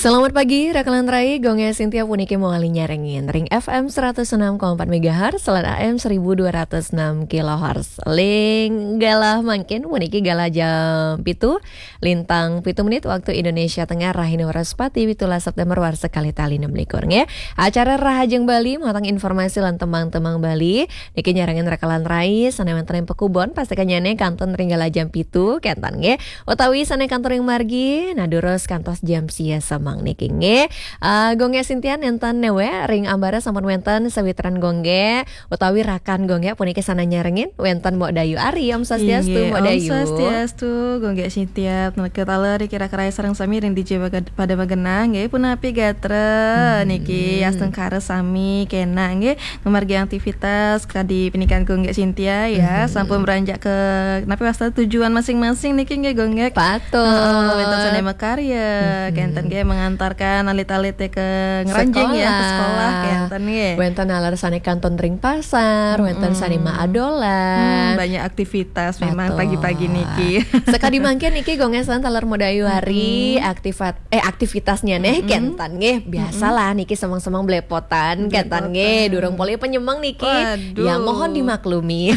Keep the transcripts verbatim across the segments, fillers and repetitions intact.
Selamat pagi, rakalan rai, Gung Ges Sintia puniki mawali nyarengin ring F M seratus enam koma empat megahertz lan A M seribu dua ratus enam kilohertz. Ring galah mangkin puniki galah jam pitu, lintang pitu menit waktu Indonesia Tengah, rahina Wraspati, pitulas September warsa kalih tali enam likur, nggih. Acara Rahajeng Bali, matang informasi lan tembang-tembang Bali, niki nyarengin rakalan rai, sane wenten ring pakubon, pastikanyane kantun ring galah jam pitu, kenten, nggih. Utawi sane kantun ring margi, nah durus kantos jam sia semeng niki, nggih. Ah, Gung Ges Sintia nenten newe, ring ambara sampun wenten sawitran Gung Ges, utawi rakan Gung Ges puniki sane nyarengin, wenten Mok Dayu Ari, Om Swastiastu, inggih, Mok Om Dayu. Swastiastu, Gung Ges Sintia, taler kira-kira sareng sami ring D J Bagad-, pada magenah, nggih, punapi gatra, hmm, niki astungkara sami kena, nggih, ngamargi aktivitas kadi pinikan Gung Ges Sintia, ya, hmm, sampun beranjak ke, napi wasta tujuan masing-masing niki, nggih, Gung Ges. Patut. Heeh, wenten sane makarya, hmm, kenten, nggih, mengantarkan alit-alit ke ngranjing, ya, ke sekolah, sekolah, kenten, nggih. Wenten taler sane kantun ring pasar, wenten, hmm, sane maadolan. Hmm, banyak aktivitas memang, patut, pagi-pagi niki. Sakadi mangkin niki Gung Ges lan taler Mok Dayu Ari, hmm, aktivat-, eh, aktivitasnya neh, hmm, kenten, nggih. Biasalah niki semeng-semeng belepotan, kenten, nggih. Belepotan. Durung polih panyemeng niki. Waduh. Ya, mohon dimaklumi.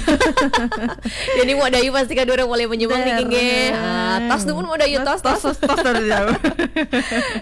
Jadi Mok Dayu pasti kan durung polih panyemeng niki, nggih. Dereng. Ah, tos dumun Mok Dayu, tos, tos, tos, tos, tos, tos, tos.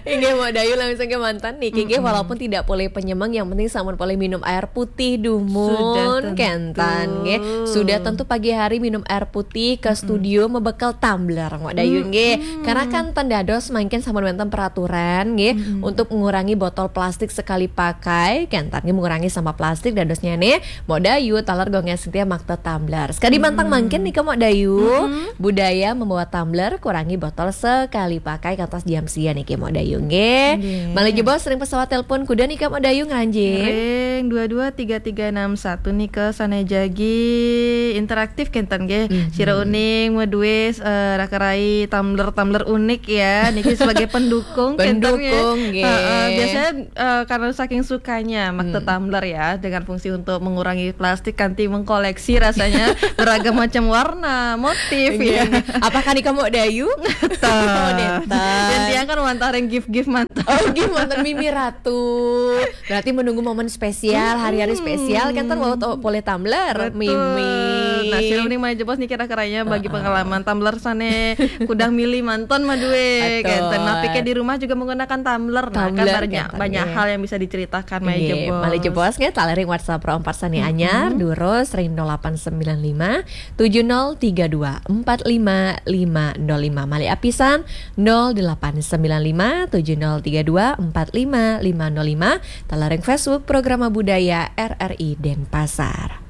Inggih, Mok Dayu langsung kemanten niki, nggih, mm-mm, walaupun tidak polih panyemeng, yang penting sampun polih minum air putih dumun, sudah tentu, kenten, nggih. Sudah tentu pagi hari minum air putih, ke, mm-mm, studio mebekal tumbler, Mok Dayu, nggih. Mm-mm. Karena kan ten dados mangkin sampun wenten peraturan, nggih, mm-mm, untuk mengurangi botol plastik sekali pakai, kenten, nggih, mengurangi sampah plastik, dadosnyane Mok Dayu taler Gung Ges Sintia makta tumbler. Sakadi mantang, mm-mm, mangkin nika, Mok Dayu, mm-mm, budaya membawa tumbler, kurangi botol sekali pakai kantos jam sia niki, Mok Dayu, nggih. Nggih. Malih jebos ring pesawat telepon, kuda nika, Mok Dayu, ngranjing. Ring dua dua tiga tiga enam satu nika sane jagi interaktif, kenten, nggih. Mhm. Sira uning madue, eh, raka rai tumbler-tumbler unik, ya. Niki sebagai pendukung, kenten, nggih. Pendukung, nggih. Heeh, biasanya, eh, karena saking sukanya makta, hmm, tumbler, ya, dengan fungsi untuk mengurangi plastik kanti mengkoleksi rasanya beragam macam warna, motif, nggih, ya. Apakah nika Mok Dayu? Nenten. Oh, nenten. Yang tiang kan wantah ring gift-gift manten. Oh, gift manten Mimi Ratu. Berarti menunggu momen spesial, hari-hari, mm-mm, spesial, kenten wau to-, polih tumbler, betul, Mimi. Nah, sira uning malih jebos niki raka rai bagi, heeh, pengalaman tumbler sane kudang milih manten madue, betul, kenten. Napike di rumah juga menggunakan tumbler. Nah, kan, tumbler, banyak, kenten, banyak, nggih, hal yang bisa diceritakan malih, nggih, jebos. Malih jebos, nggih, taler ring WhatsApp ro empat sane, mm-mm, anyar, durus ring nol delapan sembilan lima tujuh nol tiga dua empat lima lima nol lima. Malih apisan, nol delapan sembilan lima tujuh nol tiga dua empat lima lima nol lima. Taler ring Facebook Programa Budaya R R I Denpasar.